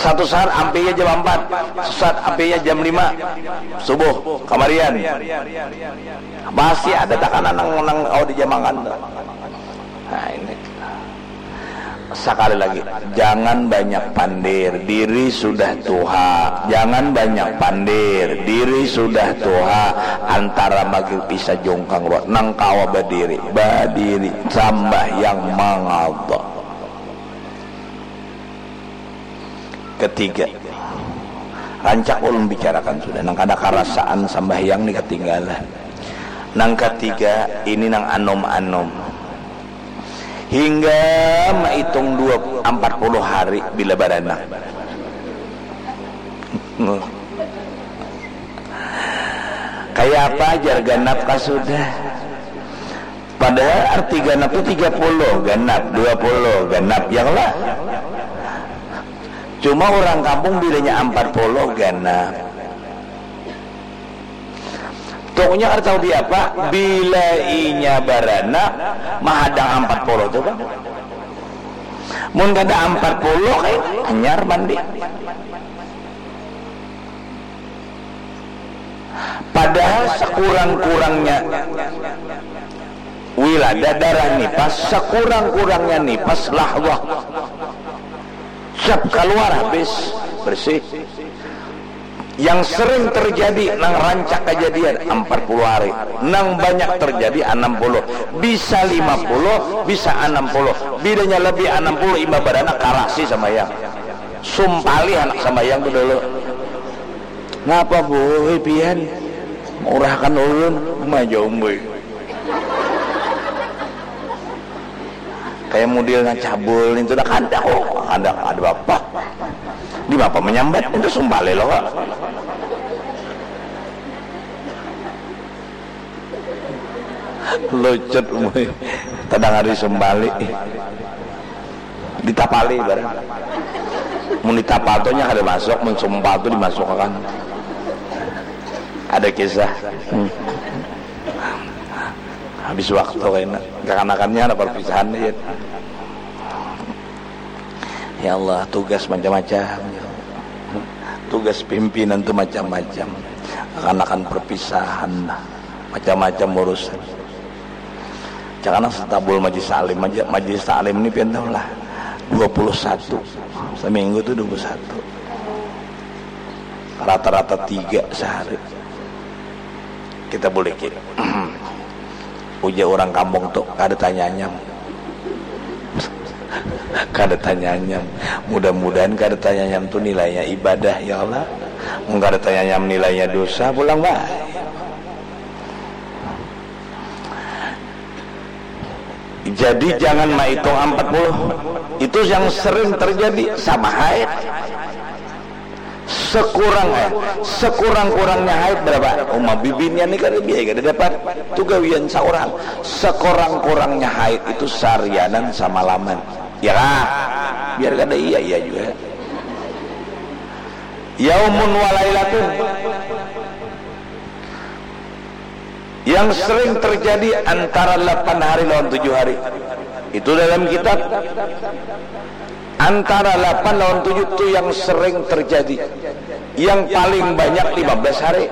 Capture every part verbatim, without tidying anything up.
Satu saat ampinya jam empat, satu saat ampinya jam lima subuh kamarian. Pasti ada takana nang nang kawa dijamangan tu. Nah, ini. Sekali lagi, jangan banyak pandir, diri sudah tuha. Jangan banyak pandir, diri sudah tuha. Antara maghrib isya jungkang ruat, nang kawa badiri, badiri, sambahyang, mangada. Ketiga, rancak ulun bicarakan sudah, nang kada karasaan sambahyang ni katinggalan. Nang katiga, ini nang anum-anum. Hingga maitung dua, ampat puluh hari bila baranak. Kaya apa jar ganap kah sudah? Padahal arti ganap tu tiga puluh ganap, dua puluh ganap, ya lah. Cuma urang kampung bilanya ampat puluh ganap. Pokoknya kada tahu diapa, bila inya baranak, mahadang ampat puluh tu, Bang. Mun kada ampat puluh, kayak hanyar mandi. Padahal sekurang-kurangnya wiladah, darah nipas, sekurang-kurangnya nipas lahwah. Siap kaluar, habis, bersih. Yang sering terjadi, nang rancak kejadian, ampat puluh hari. Nang banyak terjadi, anam puluh. Bisa lima puluh, bisa anam puluh. Bilanya lebih anam puluh, imbah baranak, karasi sambahyang. Sumpalih anak sambahyang tu dulu. Ngapa, Boy, pian? Maurahkan ulun. Uma ja, Boy. Kayak modelnya cabul itu dah, kada kok. Kada, kada apa. Di apa menyambat itu sumpalih lo, Kak. Lucut, Boy. Tadang hari sumpalih. Ditapali barang. Mun ditapal tu nya kada masuk, mun sumpal tu dimasukakan. Ada kisah. Hmm. Habis waktu kena. Kakanakannya ada perpisahan aja. Ya Allah, tugas macam-macam. Tugas pimpinan tu macam-macam. Kakanakan perpisahan, macam-macam urusan. Cakana setabul majlis taklim aja, majlis taklim ni pian tahu lah, dua puluh satu, seminggu tu dua puluh satu, rata-rata tiga sehari. Kita buliki. Ujar orang kampung tu, kada tanyanyam. Kada tanyanyam. Mudah-mudahan kada tanyanyam tu nilainya ibadah, ya Allah. Mun kada tanyanyam, nilainya dosa pulang, bah. Jadi jangan maitung ampat puluh. Itu yang sering terjadi sama haid. Sekurang, eh, sekurang-kurangnya haid berapa? Uma bibinian ni kada biaya kada dapat. Tu gawian saurang. Sekurang-kurangnya haid itu sarianan samalaman. Ya kah? Biar kada iya, iya juga. Yaumun walailatun. Yang sering terjadi antara lapan hari lawan tujuh hari. Itu dalam kitab. Antara lapan lawan tujuh tu yang sering terjadi. Yang paling banyak lima belas hari.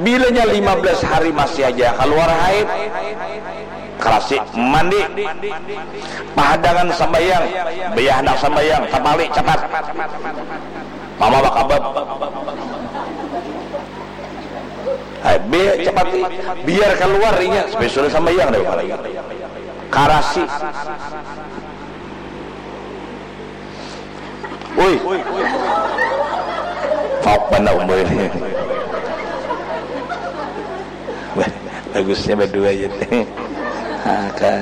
Bilanya lima belas hari masih aja kaluar haid, karasi mandi, pahadangan sambayang, bayah handak sambayang, tapali capat. Mama bakabab. Hai, be, cepat ni. Biar keluar inya, supaya sudah sambayang dah lagi. Karasi. Ui. Fok bana umur ini. Wah, bagusnya berdua aja. Oke.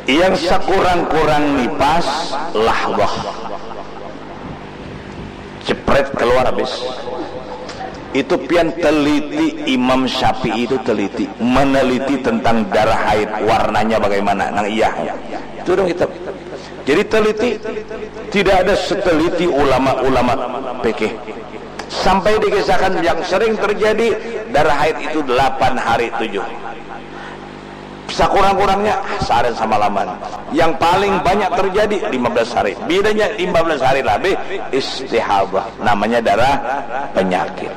Yang sekurang-kurang nipas, lahwah. Jepret, keluar habis. Itu pian teliti, Imam Syafi'i itu teliti, meneliti tentang darah haid, warnanya bagaimana, nang iya. Itu dalam kitab. Jadi teliti, tidak ada seteliti ulama-ulama fikih. Sampai dikisahkan yang sering terjadi darah haid itu delapan hari tujuh. Sakurang-kurangnya sehari samalaman. Yang paling banyak terjadi lima belas hari. Bilanya lima belas hari lebih, istihadah. Namanya darah penyakit.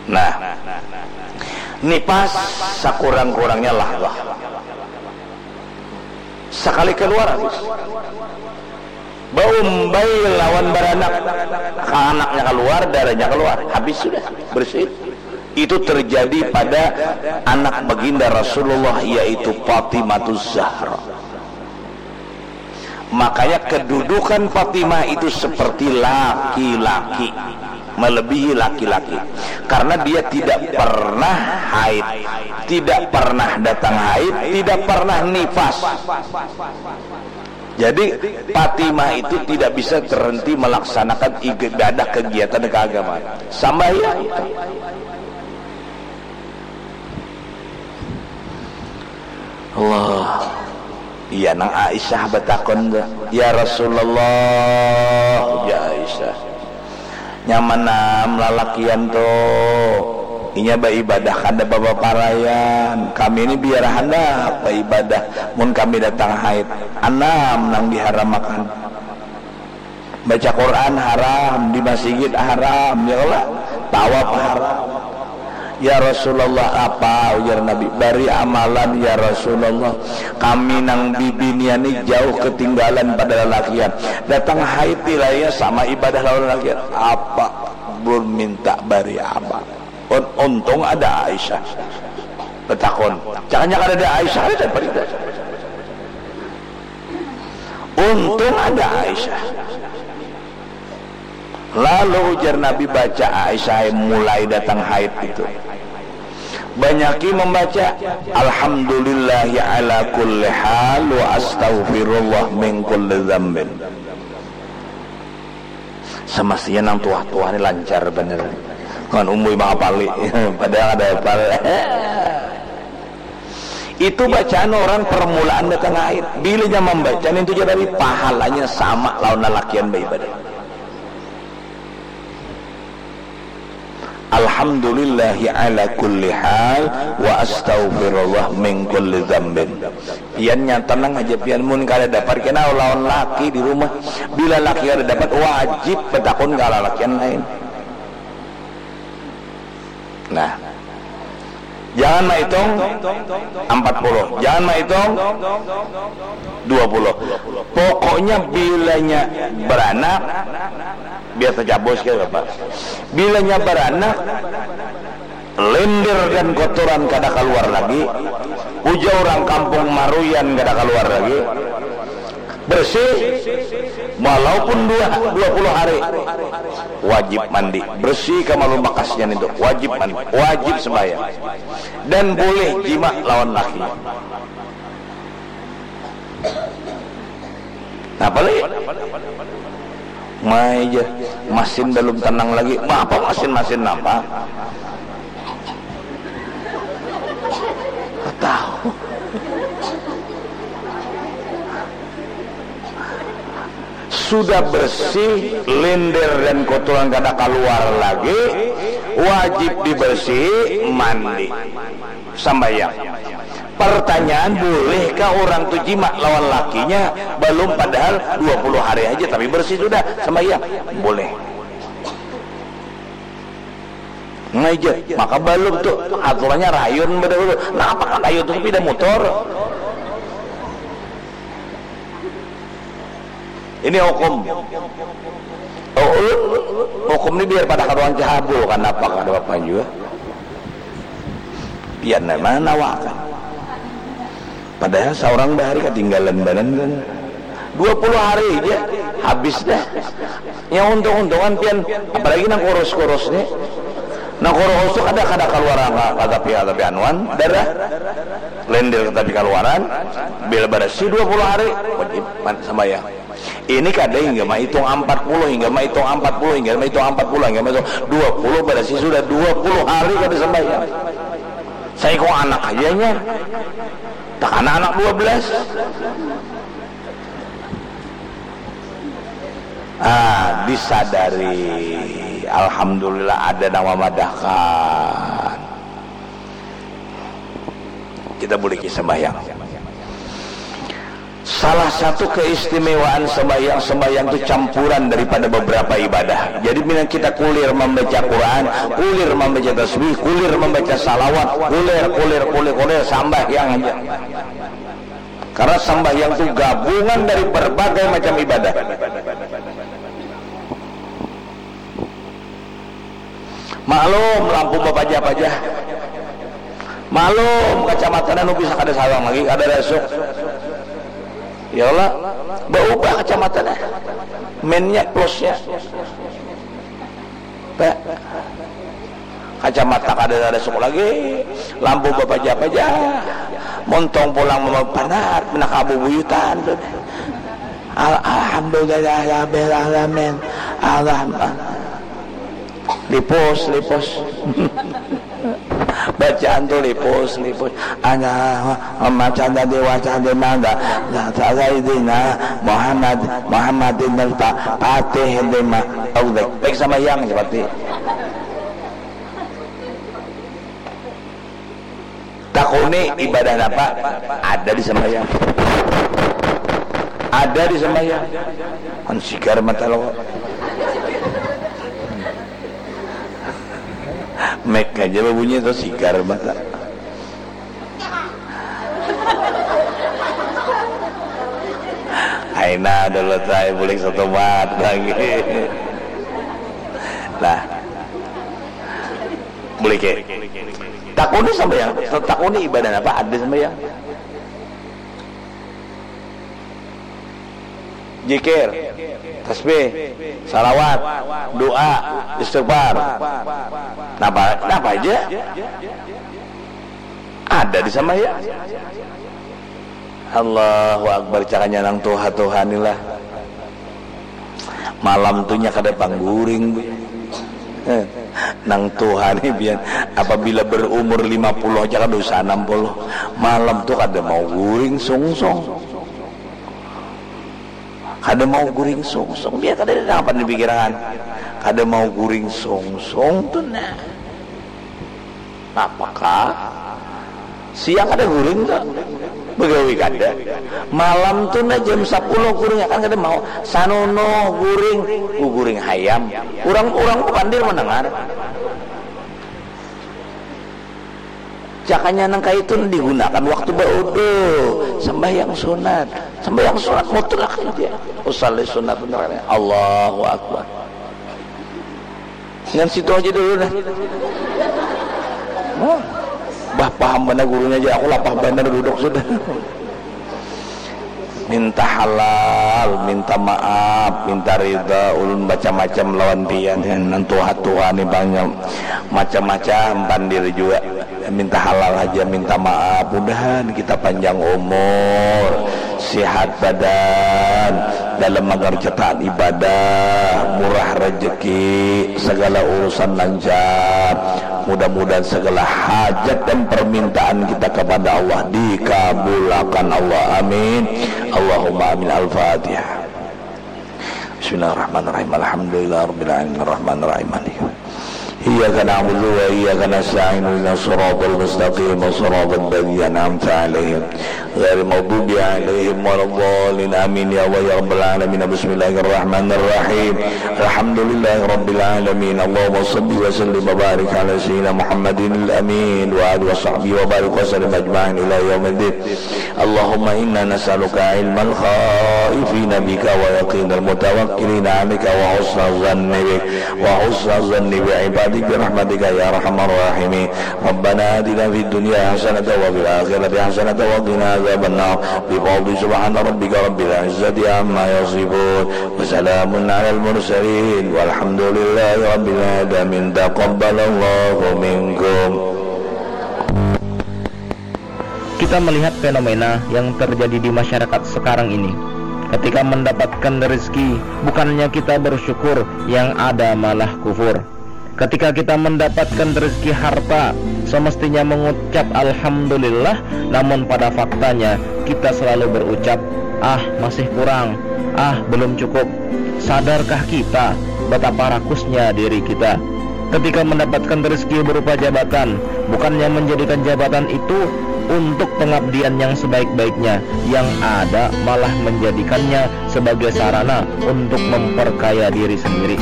Nah, nipas sakurang-kurangnya lahdah. Sekali keluar habis. Baumbai lawan baranak, anaknya keluar, darahnya keluar, habis sudah, bersih. Itu terjadi pada anak baginda Rasulullah, yaitu Fatimah Zahra. Makanya kedudukan Fatimah itu seperti laki-laki, melebihi laki-laki. Karena dia tidak pernah haid, tidak pernah datang haid, tidak pernah nifas. Jadi Fatimah itu tidak bisa terhenti melaksanakan ibadah, kegiatan keagamaan. Sambahyang. Allah. Iya, nang Aisyah batakun tu, "Ya Rasulullah," ujar Aisyah, "nyaman am lalakian tu, inya baibadah kada bapaparaian. Kami ni biar handak baibadah mun kami datang haid. Anam nang diharamakan." Baca Quran haram, di masigit haram, ya Allah, tawaf haram. "Ya Rasulullah, apa?" ujar Nabi. "Bari amalan, ya Rasulullah. Kami nang bibinian ni jauh ketinggalan pada lalakian. Datang haid nilainya sama ibadah lawan lalakian. Apa?" Berminta bari amal. Un-, untung ada Aisyah. Betakun. Jangan-jangan ada Aisyah, ada pada. Untung ada Aisyah. Lalu ujar Nabi, "Baca Aisyah mulai datang haid itu. Banyaki membaca, 'Alhamdulillahi ala kulli hal wa astaghfirullah min kulli dzambin.'" Semestinya nang tuah-tuah ni lancar bener. Kan umui mangapali. Padahal ada hafal. Itu bacaan orang permulaan datang haid. Bilanya membaca nintu ja tadi, pahalanya sama lawan lalakian baibadah. "Alhamdulillahi ala kulli hal wa astaghfirullah min kulli dzambin." Pian nya tenang aja pian, mun kada dapat kena lawan laki di rumah. Bila laki kada dapat, wajib betakun ka lalakian lain. Nah, jangan maitung ampat puluh, jangan maitung dua puluh. Pokoknya bilanya beranak, biar tecabus ke apa. Bilanya beranak, lender dan kotoran kada keluar lagi. Ujar orang kampung, maruyan kada keluar lagi. Bersih, walaupun dua, dua puluh hari, wajib mandi. Bersih ka malu bakasnya nintu, wajib mandi, wajib sembahyang. Dan boleh jima lawan laki. Napa lagi? Mai ja, masin balum tenang lagi. Bah, apa masin-masin napa? Tahu. Sudah bersih, lender dan kotoran kada keluar lagi, wajib dibersihi, mandi, sambayang. Pertanyaan, bolehkah orang tu jima lawan lakinya balum, padahal dua puluh hari aja tapi bersih sudah, sambayang? Boleh. Ngajar, maka balum tu aturannya rayun badahulu. Napa kan rayun tu sepeda motor? Ini hukum. Oh, hukum ni biar pada karuan cahabul, kanapa kada apa jua. Pian mana nawakan. Padahal seorang bahari ketinggalan badan kan. Dua puluh hari aja habis dah. Yang untung-untungan pian, apalagi nang kurus-kurus ni. Nang kurus tu kada, kada keluar angka, kada tapi, kada tapi anuan, darah. Lender tapi keluaran, bila bersih dua puluh hari, wajib man-, sembahyang. Ini kada hingga maitung ampat puluh, hingga maitung ampat puluh, hingga maitung ampat puluh, hingga maitung dua puluh, berarti sudah dua puluh hari kada sembahyang. Saikung anak aja nya. Takana anak dua belas. Ah, disadari. Alhamdulillah ada nang mamadahkan. Kita buliki sembahyang. Salah satu keistimewaan sembahyang, sembahyang itu campuran daripada beberapa ibadah. Jadi, bila kita kulir membaca Quran, kulir membaca tasbih, kulir membaca salawat, kulir, kulir, kulir, kulir, sambahyang aja. Karena sambahyang itu gabungan dari berbagai macam ibadah. Maklum, lampu bapajah-pajah. Maklum, kacamata anu bisa kada sawang lagi, kada rasuk. Ya Allah, baubah kacamata dah. Minnya, plusnya. Pak, kacamata kada rasuk lagi, lampu bapajah-pajah. Montong pulang mama panar, pina kabubuyutan tu. Al-, alhamdulillah, rabbil alamin. Alhamdulillah. Lipus, lipus. Bacaan tu lipus, lipus. Ana macam tadi wacana di mangga. Sayyidina Muhammad, Muhammadin al-Fa-, Fatih lima. Tahu dek. Baik sambahyang seperti. Takuni ibadah napa? Ada di sembahyang. Ada di sembahyang. Kan sigar mata lo. Mic aja babunyi tu sigar mata. Aina dulu saya bulik satu mat lagi. Nah. Buliki. Takuni sambahyang, takuni ibadah apa ada sambahyang? Jikir, tasbih, salawat, doa, istighfar. Napa, napa aja? Ada di sambahyang. Allahu Akbar, cakanya nang tuha-tuha ni lah. Malam tu nya kada pang guring, Bu. Eh, nang tuha ni pian, apabila berumur lima puluh aja kada usah enam puluh. Malam tu kada mau guring sungsung. Kada mau guring sungsung, biar kada ada apa di pikiran. Kada mau guring sungsung tu nah. Napakah? Siang kada guring tu. Begawi kada. Malam tu nah jam sapuluh guring akan kada mau. Sanono guring, guring hayam. Urang, urang pandir mendengar. Cakanya nang kaitu digunakan waktu baudu, sembahyang sunat. Sembahyang sunat mutlak aja. Usalli sunat, Allahu Akbar. Ngan situ aja dulu dah. Hah? Bah, paham banar gurunya aja, aku lapah banar duduk sudah. Minta halal, minta maaf, minta rida, ulun macam-macam lawan pian. Nang tuha-tuha ni banyak macam-macam pandir juga. Minta halal aja, minta maaf. Mudahan kita panjang umur, sehat badan, dalam mengerjakan ibadah, murah rezeki, segala urusan lancar. Mudah-mudahan segala hajat dan permintaan kita kepada Allah dikabulakan Allah. Amin. Allahumma amin. Al-Fatihah. Bismillahirrahmanirrahim. Alhamdulillahirabbil alamin. Arrahmanirrahim. Maliki. Iyyaka na'budu wa iyyaka nasta'in. Ihdinas siratal mustaqim. Siratal ladzina an'amta 'alaihim. Ghairil maghdubi 'alaihim waladdallin. Amin ya Allah ya rabbal alamin. Bismillahirrahmanirrahim. Alhamdulillahirabbil alamin. Allahumma shalli wa sallim wa barik ala sayyidina Muhammadin al-amin wa alihi wa sahbihi wa barik wa sallim ajma'in ila yaumiddin. Allahumma inna nas'aluka ilmal khaifina bika wa yaqinal mutawakkilina 'alaika wa husna zanni bik, wa husna zanni bi ibadik bi rahmatika ya arhamar rahimin. Rabbana atina fid dunya hasanatan wa fil akhirati hasanatan wa qina adzabannar. Bi fadli subhana rabbika rabbil izzati amma yasifun. Wa salamun alal mursalin. Walhamdulillahi rabbil alamin. Taqabbalallahu minkum. Kita melihat fenomena yang terjadi di masyarakat sekarang ini. Ketika mendapatkan rezeki, bukannya kita bersyukur, yang ada malah kufur. Ketika kita mendapatkan rezeki harta, semestinya mengucap alhamdulillah, namun pada faktanya kita selalu berucap, "Ah, masih kurang. Ah, belum cukup." Sadarkah kita betapa rakusnya diri kita? Ketika mendapatkan rezeki berupa jabatan, bukannya menjadikan jabatan itu untuk pengabdian yang sebaik-baiknya, yang ada malah menjadikannya sebagai sarana untuk memperkaya diri sendiri.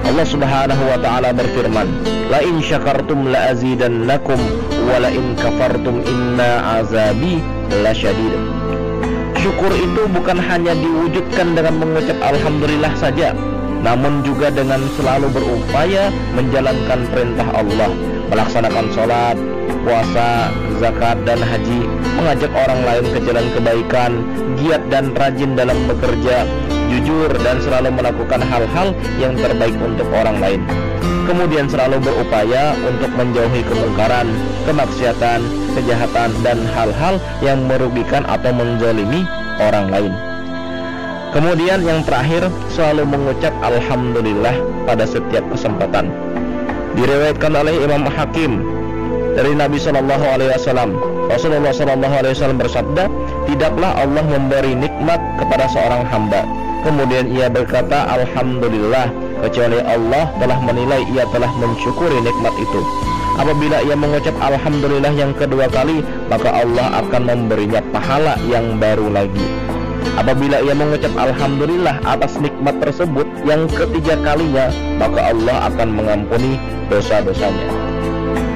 Allah Subhanahu wa taala berfirman, "La in syakartum la azidannakum wa la in kafartum inna azabi lasyadid." Syukur itu bukan hanya diwujudkan dengan mengucap alhamdulillah saja, namun juga dengan selalu berupaya menjalankan perintah Allah, melaksanakan sholat, puasa, zakat, dan haji, mengajak orang lain ke jalan kebaikan, giat dan rajin dalam bekerja, jujur dan selalu melakukan hal-hal yang terbaik untuk orang lain. Kemudian selalu berupaya untuk menjauhi kemungkaran, kemaksiatan, kejahatan, dan hal-hal yang merugikan atau menzalimi orang lain. Kemudian yang terakhir, selalu mengucap alhamdulillah pada setiap kesempatan. Diriwayatkan oleh Imam Hakim dari Nabi Shallallahu Alaihi Wasallam, Rasulullah Shallallahu Alaihi Wasallam bersabda, "Tidaklah Allah memberi nikmat kepada seorang hamba, kemudian ia berkata alhamdulillah, kecuali Allah telah menilai ia telah mensyukuri nikmat itu. Apabila ia mengucap alhamdulillah yang kedua kali, maka Allah akan memberinya pahala yang baru lagi. Apabila ia mengucap alhamdulillah atas nikmat tersebut yang ketiga kalinya, maka Allah akan mengampuni dosa-dosanya."